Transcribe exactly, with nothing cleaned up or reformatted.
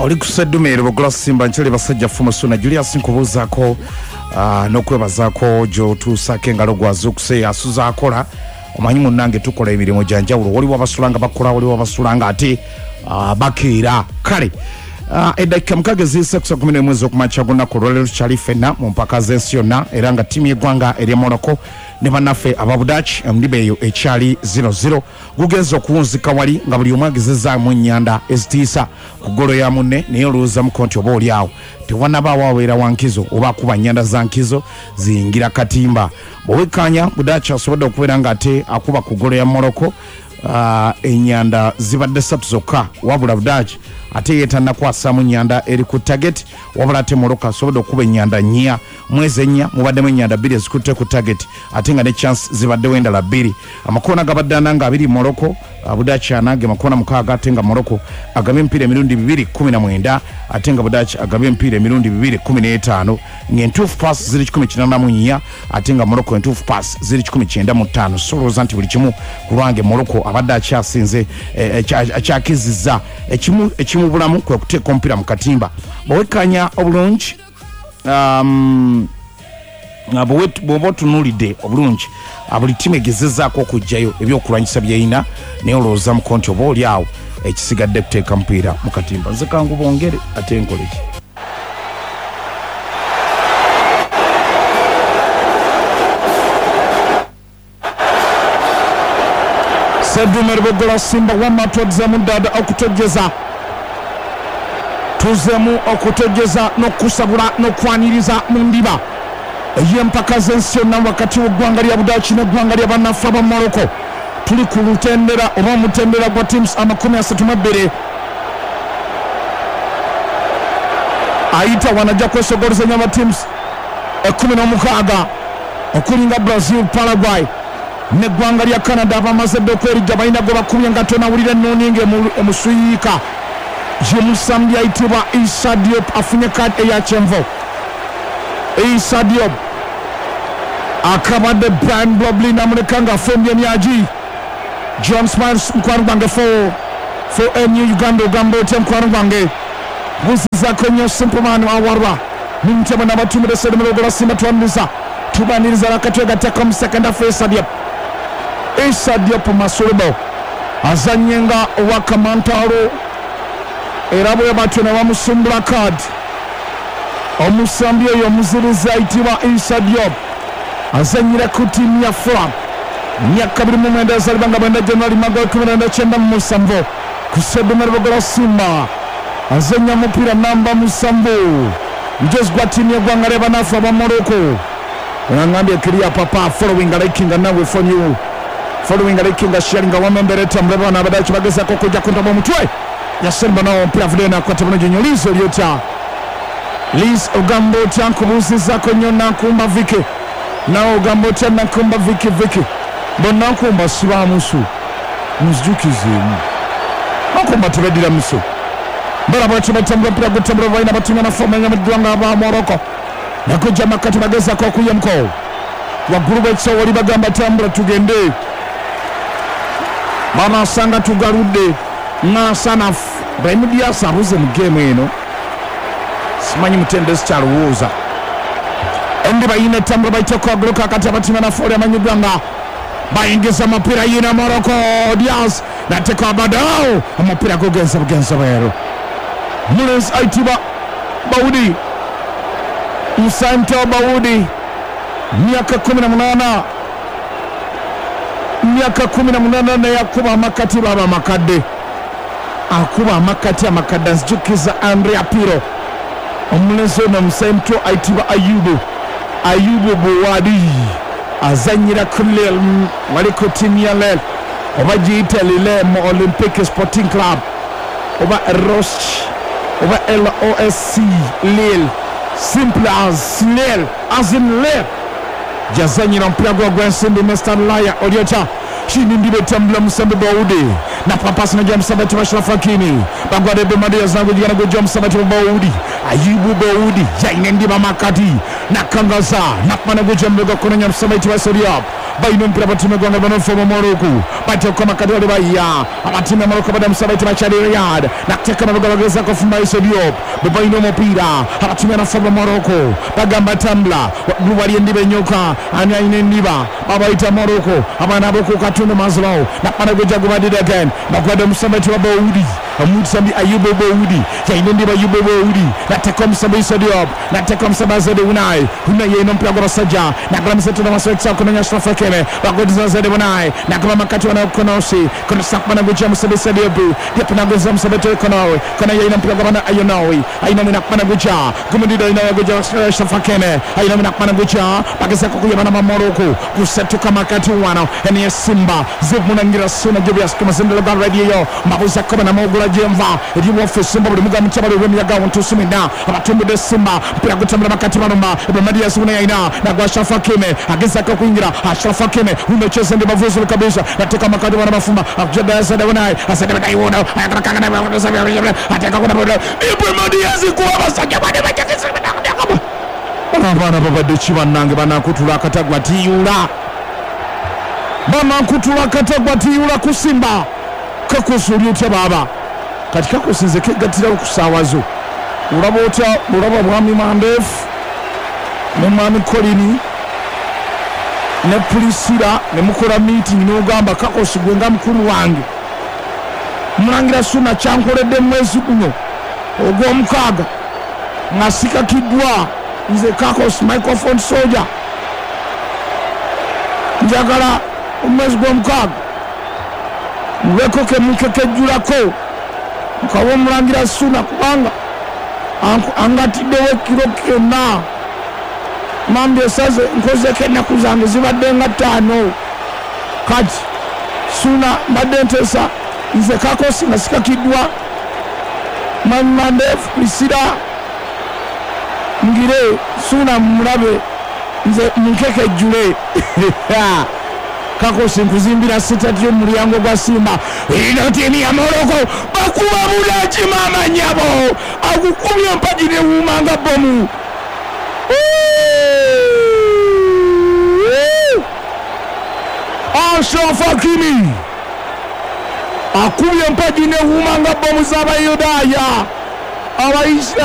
Oli ku Seddume Lubogola Simba nkyali basajja Fumusuna Julius nkubuuzaako uh, n'okwebazaako gy'otuusaako engalo gwazuukuse asuza akola. Omanyi munnange tukola emirimu gya njawulo, waliwo abasula nga bakola, waliwo abasula nga ate uh, bakeera. Kale uh, eddakiika mukaaga eziyise ku saa kumi n'emu ez'okumakya gw'olunaku olwaleero tukyali ffenna mu mpaka z'ensi yonna, era nga ttiimu y'eggwanga erya Morocco ne bannaffe aba Budaaki endiba eyo ekyali zero zero. Gugenze okuwunzika wali nga buli omu agezezzaamu ennyanda ezitiisa ku ggolo ya munne, naye olowoozamuko nti oba oli awo tewanabaawo aweera wa nkizo oba akuba nnyanda za nkizo ziyingira katimba. Bw'owekkaanya Budaaki asobodde okubeera ng'ate akuba ku ggolo ya Morocco, uh, ennyanda zibadde ssatu zokka, wabula Budaaki ate ye tannakwasaamu nnyanda eri ku target, wabula ate Morocco asobodde okuba ennyanda nnya, mwezi ennya mubaddemu ennyanda bbiri ezikutte ku target, ate nga ne chance zibaddewo endala bbiri. Amakoona gabadde ana nga abiri Morocco, Budaaki ana ge makoona mukaaga, ate nga Morocco agabye emipiira emirundi bibiri kumi na mwenda, ate nga Budaaki agabye emipiira emirundi bibiri kumi n'etaano, ng'entuufu pass ziri kikumi kinaana mu nnya, ate nga Morocco entuufu pass ziri kikumi kyenda mu ttaano. So olowooza nti buli kimu ku lwange Morocco abadde akyasinze, akyakizizza ekimu ekimubulamu kwe kuteeka omupiira mu katimba. Bw'owekkaanya obulungi, um, bw'oba otunuulidde obulungi, buli ttiimu egezezzaako okuggyayo ebyokulwanyisa by'erina, naye olowoozamuko nti oba oli awo ekisigadde kuteeka mupiira mu katimba. Nze kangu bongere ate nkole ki? Seddume Lubogola Simba wamma twazzeemu ddala okutojjeza, tuzzeemu okutojjeza n'okusabula n'okwaniriza mu ndiba ey'empaka z'ensi yonna wakati w'eggwanga lya Budaaki n'eggwanga lya bannaffe aba Morocco. Tuli ku lutendera oba omutendera gwa teams amakumi asatu mu bbiri. Ayita wano ajja kwesogolezanya aba teams ekkumi n'omukaaga okulinga Brazil, Paraguay n'eggwanga lya Canada abamaze dda okwerijja, balina gwe bakubye nga tonawulira ennuuni ng'emusuyiika. Ye musambi ayitibwa Issa Diop afunye kaadi eya kyenvu. Issa Diop akabadde Brian Blobly n'amuleka ng'afumbye emyagi. John Smiles mukwano gwange for for M U Uganda ogamba otya mukwano gwange? Buzizaako nnyo Simple Man awarwa mumutema n'abatumire Seddume Lubogola Simba twaniriza tubaniriza nakatwegattako mu second half. Issa Diop, Issa Diop Masulubo azannye nga owa Kamantalo, era bwe batyo ne bamusumbula kaadi. Omusambi oyo omuzirizi ayitibwa Issa Diop azannyira ku ttiimu ya Fulham, myaka biri mu mwenda yazaalibwa nga mwenda January mwaka w'ekumi na kyenda mu musanvu ku Seddume Lubogola Simba, azannya mupiira namba musanvu mujozi gwa ttiimu y'eggwanga ly'abanafu aba Morocco. Onangambye kiriya papa following liking nawe for you following liking sharing wamembereta muleba abadaki bagezaako okujja ku ntobo omutwe yasemba nawo omupiira avuddeyo n'akwata bulungi nnyo. Liz oli otya? Liz ogamba otya? Nkubuuzizzaako nnyo Nankumba Viki, nawe ogamba otya Nankumba Viki? Viki bonnankumba sibamusu munzijukizeemu, Nankumba tebeddira musu. Mbala bwatyo batambula omupiira gutambula balina batumya naffe mu ggwanga aba Morocco nakujja makati bagezaako okuyemuko waggulu bw'ekisawo wali bagamba tambula tugende, banasanga tugaludde ng'asanafu. Brahim Diaz abuze mu geemu eno, simanyi mutendesi kyalowooza. Endiba yina etambula bayiteko agulu kakati abatimya naffe oli amanyiddwa nga bayingiza omupiira yina Morocco Diaz nateeka abaddewo omupiira gugenze bugenze bweru. Mulenzi ayitibwa Baudi Musanto Baudi myaka kumi na munaana, myaka kumi na munaana naye akuba amakati baba amakadde, akuba amakati amakadde anzijukiza Andrea Pirlo. Omulenzi ono Musanto ayitibwa Ayubu Ayubu Buwadi azannyira ku Lille, wali ku ttiimu ya Lille oba giyite Lille mu Olympic Sporting Club oba Roche oba L O S C Lille, simple as Lille, as in Lille. Jazanyira omupiira gwa gw'ensimbi Mister Laya oli otya? Chini ndibe tambula musambi Baudi na papasi na musambi ati Ashraf Hakimi bagwade Bemadi zangu jigana gujja musambi ati Baudi Ayubu Baudi yaine ndiba makati nakangaza nakmana gujja mbega kunanya musambi ati Issa Diop Balina omupiira batiimu eggwanga banofu mu Morocco bateeka makati wali bayiya abatiimu ya Morocco badamusa bayita bakyali Riyad nakuteeka mabega bagezaako ofumba Issa Diop be balina omupiira abatiimu yanafu ba Morocco bagamba tambula waggulu wali endiba enyoka ani alina endiba babayita Morocco abaana ab'oku katundu Maslow nakubana gujja gubadde again bakwadde omusamba ayitibwa Boudi omusambi Ayubu Boudi yalina endiba Ayubu Boudi nateeka omusambi Issa Diop nateeka omusambi Azede Unai Unai yalina omupiira gw'abasajja nagala museto n'amaso kumenya Ashraf Hakimi bagodiza Zede Unai nakuba makati wana Konosi Konosi nakubana gujja musambi Issa Diop Diop nagoza musambi Konowi Konowi yalina omupiira gw'abana Ayonowi Ayonowi nakubana gujja gumudida alina gujja Ashraf Hakimi Ayonowi nakubana gujja bagezaako kuyabana ma Morocco kusetuka makati wano eni Simba zimunangira Suna Julius kumazindalo ga radio mabuza koma na mogula jemva eri waffe Simba buli muga mutabali w'emiyaga ntusumina abatumbudde Simba mpira gutambula makati balumba Ebamadi Suna yaina na gwa Ashraf Hakimi agezaako kuyingira Ashraf Hakimi umecheza ndi mavuzo kabisa nateka makati wana mafumba akujada Azade Unai Azade Unai wona ateka kuna Ibrahim Diaz kuwa basajja bane bajakisa abaana babadde ki bannange banakutula akatagwa tiyula banakutula akatagwa tiyula kusimba kakusuuli otya baaba kati kakusinze kegattirawo ku ssaawa zo olaba otya olaba mwami Mandefu ne mwami Kolini ne Pulisira ne mukola meeting n'ogamba Kakosi gwe nga mukulu wange mulangira Suna kyankoledde mwezi guno ogw'omukaaga nga sikakiddwa nze Kakosi microphone soldier njagala omwezi gw'omukaaga mubeko kemukekejjulako nkawa omulangira Suna kubanga angatiddewo ekiro kyonna mambi esaze nkozeko ennaku zange zibadde nga ttaano kati Suna mbadde nteesa nze Kakosi nga sikakiddwa mwami Mandefu Pulisira ngire Suna mulabe nze munkekejjule Kakosi nkuzimbira sitati y'omulyango gwa Simba ino tiimu ya Morocco bakuba bulaki maama nnyabo akukubye empagi newuuma nga bbomu Ashraf Hakimi akubye empagi newuuma nga bbomu z'Abayudaaya Abaisiraeri.